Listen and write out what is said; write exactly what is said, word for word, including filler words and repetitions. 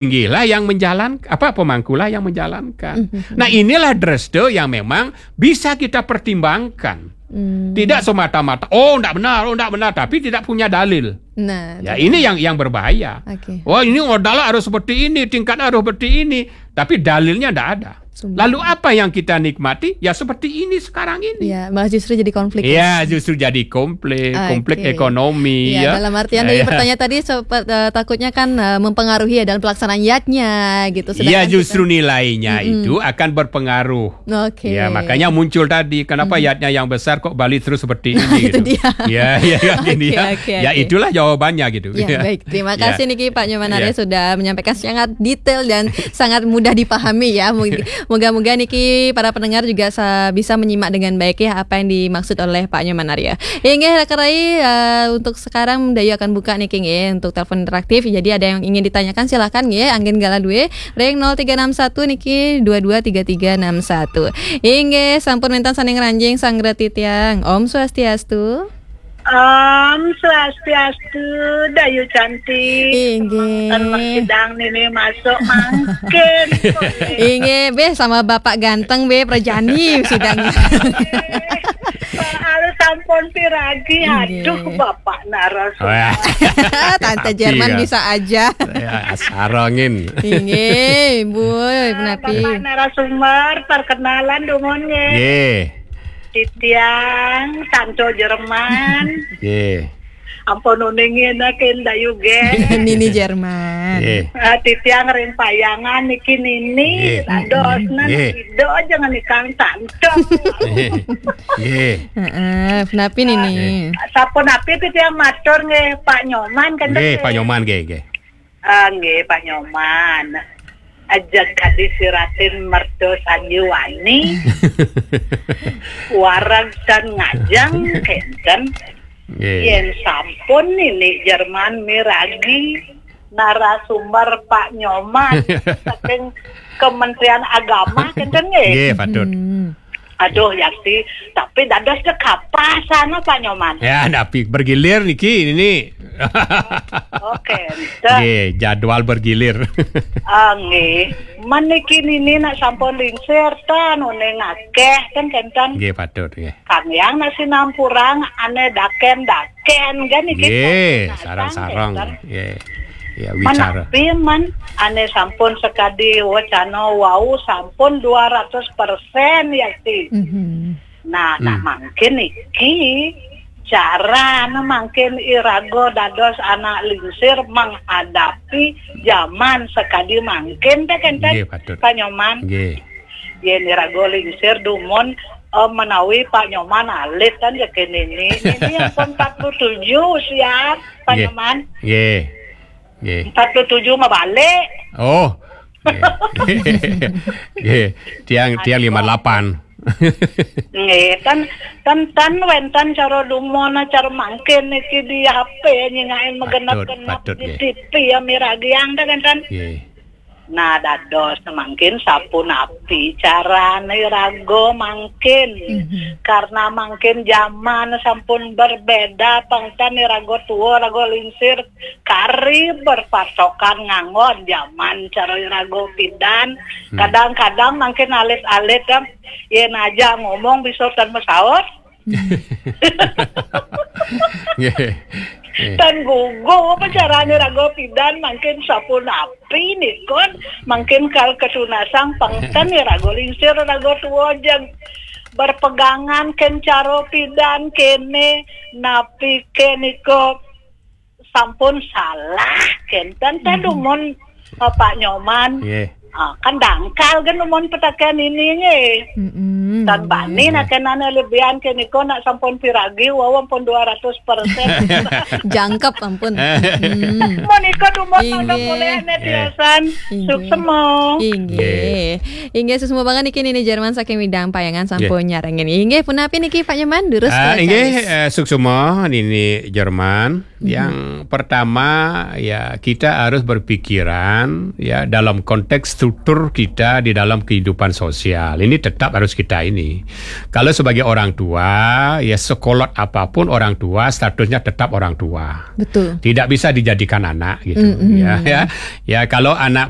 tinggilah yang menjalan apa, pemangkulah yang menjalankan. Mhm. Nah, inilah dreste yang memang bisa kita pertimbangkan. Hmm. Tidak semata-mata, "Oh, ndak benar, oh, ndak benar," tapi tidak punya dalil. Nah, ya, itu. Ini yang yang berbahaya. Oke. "Wah, ini modalnya harus seperti ini, tingkatnya harus seperti ini," tapi dalilnya ndak ada. Sumber. Lalu apa yang kita nikmati? Ya, seperti ini sekarang ini. Ya, malah justru jadi konflik, ya? Ya, justru jadi konflik, konflik ekonomi, ya. Oke. Ya, dalam artian dari pertanyaan tadi, sepe-, eh, takutnya kan, eh, mempengaruhi ya dalam pelaksanaan yadnya gitu. Ya, sedangkan justru kita nilainya Mm-mm. itu akan berpengaruh. Oke. Ya, makanya muncul tadi, kenapa Mm-mm. yadnya yang besar kok Bali terus seperti ini Itu gitu. Dia. Ya, ya, ya, Oke, ini ya. Oke, ya, oke. Itulah jawabannya gitu. Ya, ya. Baik. Terima kasih niki Pak Nyoman Arya sudah menyampaikan sangat detail dan sangat mudah dipahami ya. Mog-, moga-moga niki para pendengar juga sa-, bisa menyimak dengan baik ya apa yang dimaksud oleh Pak Nyoman Arya. Inggih, Raka Rai, eh, untuk sekarang Dayu akan buka niki nggih untuk telepon interaktif. Jadi ada yang ingin ditanyakan silakan nggih, anggen galah duwe ring nol tiga enam satu niki dua dua tiga tiga enam satu. Inggih, sampun wénten saking Ranjing Sanggra Titiang. Om Swastiastu. Om Swastiastu, Dayu cantik. Inggih. Ten mersidang nini masuk mangkin. Inggih, béh sama Bapak ganteng béh prajani sidang. Soal sampun piragi, Inggih. Aduh, Bapak narasumber. Wah. Tante Tapi Jerman ya. Bisa aja. Ya, sarongin. Inggih, Bu, Nah, menapi. Bapak narasumber, perkenalan dumun nggih. Nggih. Titiang, Santo Jerman. Nggih. Ampun uningin akin Dayu nggih. Nini Jerman. Nggih. Ah, Titiang ring Payangan niki nini. Nggih. Dadosna Nggih. Ida aja ngenikang Santo. Nggih. Heeh, menapi nini? Nggih. Sapunapi Titiang matur nggih Pak Nyoman kan Nggih, nggih? Pak Nyoman nggih, nggih. Ah, nggih, Pak Nyoman. Ajeng kadi siratin merta sanjiwani, wareg tan ngajeng kénten. Nggih. Yén sampun nini Jerman miragi narasumber Pak Nyoman saking Kementerian Agama, kénten nggih? Nggih, patut. Hmm. Aduh, Yakti, tapi dados dekapasan Pak Nyoman. Ya, tapi bergilir niki ini. Oke, enten. Nggih, jadwal bergilir. Ah, nggih. Men niki nini nak sampun lingsir tan uning akéh kan kénten. Nggih, patut nggih. Kang Yang nak sinampurang ané daken-daken kan niki. Nggih, sareng-sareng. Nggih. Ya, wicara. Menapi men ané sampun sakadi wacana wau sampun dua ratus persen Yakti. Mhm. Nah, nah, hmm. Mangkin niki carana mangkin iraga dados anak lingsir menghadapi zaman sakadi mangkin téh kénten Nggih, patut. Pak Nyoman. Nggih. Yén iraga lingsir dumun, eh, menawi Pak Nyoman alit kan ya kéné ini. Ini yang pun empat puluh tujuh siap Pak Nggih. Nyoman. Nggih. Nggih. Empat puluh tujuh mah balik. Oh. Nggih. Nggih. Tiang tiang lima delapan. Nggih, kan kan kan wénten cara dumun cara mangkin niki di H P nyingakin megenep-genep patut, di nggih. T V ya miragiang téh kan. Nggih. Nah, dados mangkin sapunapi carane raga mangkin. Mhm. Karena mangkin zaman sampun berbeda, pangtan raga tua, raga lingsir, kari berpatokan nganggon zaman cara raga pidan. Hmm. Kadang-kadang mangkin alit-alit kan, yen aja ngomong bisa tan mesaut. Nggih. Nggih. Tan gugu apa carane raga pidan mangkin sapunapi nikon mangkin kal ketunasang pangten ya raga lingsir raga tua jeng berpegangan ken cara pidan kene napi ke nika sampun salah kenten teh dumun, eh, Pak Nyoman. Nggih. Ah, kan dangkal kan dumun petaken ini nggih. Mm-mm. Tan bani nak kenane lebihan ke nika nak sampun piragi wau ampun dua ratus persen. Jangkep ampun. Mm. Menika dumun mangga mulih ane tiosan. Inggih. Suksema. Inggih. Inggih, suksema banget niki Nini Jerman saking Widang Payangan sampun nyarengin. Inggih, punapi niki Pak Nyoman durus. Ah, inggih, eh, suksema Nini Jerman. Yang pertama, ya, kita harus berpikiran, ya, dalam konteks struktur kita di dalam kehidupan sosial. Ini tetap harus kita ini. Kalau sebagai orang tua, ya, sekolot apapun orang tua, statusnya tetap orang tua. Betul. Tidak bisa dijadikan anak, gitu. Mm-mm. Ya, ya. Ya, kalau anak